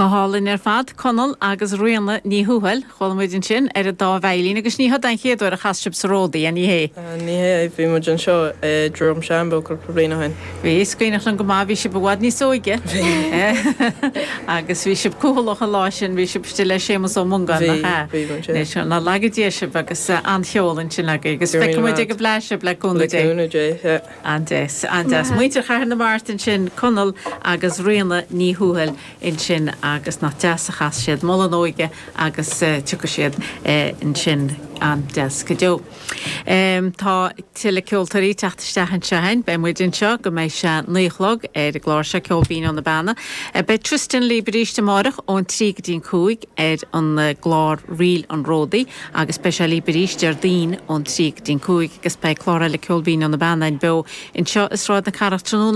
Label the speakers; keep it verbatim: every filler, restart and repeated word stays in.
Speaker 1: Go hálainn ar fad Conall agus Ríona Ní Thuathail chuala muid ansin ar an dá veidhlín agus ní hé an chéad uair a chas sibh sa Ródaí an hé.
Speaker 2: Ní hé bhí muid anseo i Drom Shambo cúpla bliain ó shin.
Speaker 1: Bhí is cuimhin liom go maith bhí sibh i bhfad níos óige agus bhí sibh cúlach an lá sin bhí sibh istigh le Séamus Ó Mongáin ná laga Dia sibh agus an-cheol ansin agaibh agus feicfidh muid ag an bhFleadh sibh le cúnamh Dé. An-deas an-deas. Muintir Chathair na Mart ansin Conall agus Ríona Ní Thuathail ansin agus nach deas a chas siad Moladh na hÓige agus uh, tiocfaidh siad uh, ansin an-deas go deo. Um, tá tuilleadh ceoltóirí teacht isteach anseo againn, beidh muid anseo go mbeidh sé naoi a chlog ar an gclár seo Ceol Binn ó na Beanna. Uh, beidh Tristan libh arís amárach ón trí go dtí an cúig ar an uh, gclár Ríl an Ródaí agus beidh sé libh arís Déardaoin ón trí go dtí an cúig agus beidh clár eile Ceol Binn ó na Beanna beo anseo i Sráid na Cathrach tráthnóna.